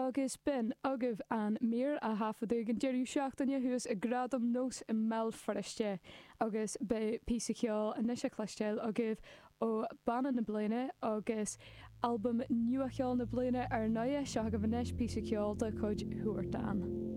Agus b'in agaibh an mír a thaifeadadh ag an deireadh seachtaine thuas ag Gradaim Nós i mBéal Feirste. Agus beidh píosa ceoil anois á chloisteáil agaibh ó Banna na Bliana agus Albam Nua-Cheoil na Bliana ar ndóighe. Seo agaibh anois píosa ceoil de chuid Huartan.